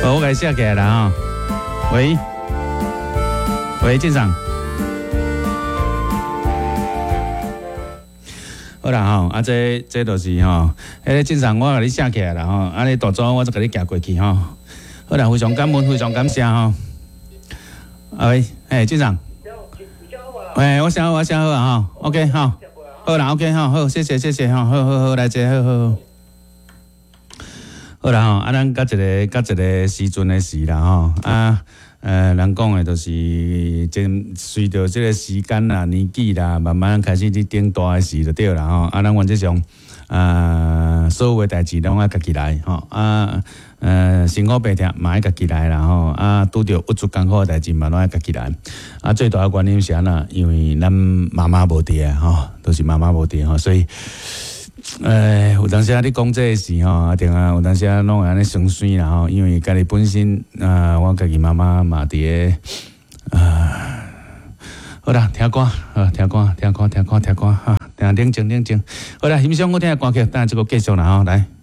好，我共伊寫起來啦吼。喂，喂，鎮長。好啦吼，啊這這就是吼，彼个鎮長我共你寫起來啦吼，啊你大組我再共你寄過去吼。好啦，非常感恩，非常感謝吼。喂，欸，鎮長。欸，我寫好，我寫好啊吼，OK 吼，好啦，OK 吼，好，謝謝謝謝吼，好好好，來坐，好好好。好啦吼，啊，咱到一个到一个時陣的時啦吼，啊，人講的就是真隨著這個時間啦、年紀啦，慢慢開始佇長大的時就對啦吼。啊，咱原則上啊，所有的代誌攏愛家己來吼，啊，辛苦白疼嘛愛家己來啦吼，啊，拄著鬱卒艱苦的代誌嘛攏愛家己來。啊，最大的原因是按怎？因為咱媽媽無佇啊吼，都是媽媽無佇吼，所以。有當時啊，你講這个時吼，啊，定啊，有當時啊，攏會按呢酸酸啦吼，因為家己本身啊，我家己媽媽嘛佇个啊，好啦，聽歌，好，聽歌，聽歌，聽歌，聽歌，哈，聽冷靜冷靜。好啦，欣賞好聽的歌曲，等下這個繼續啦吼，來。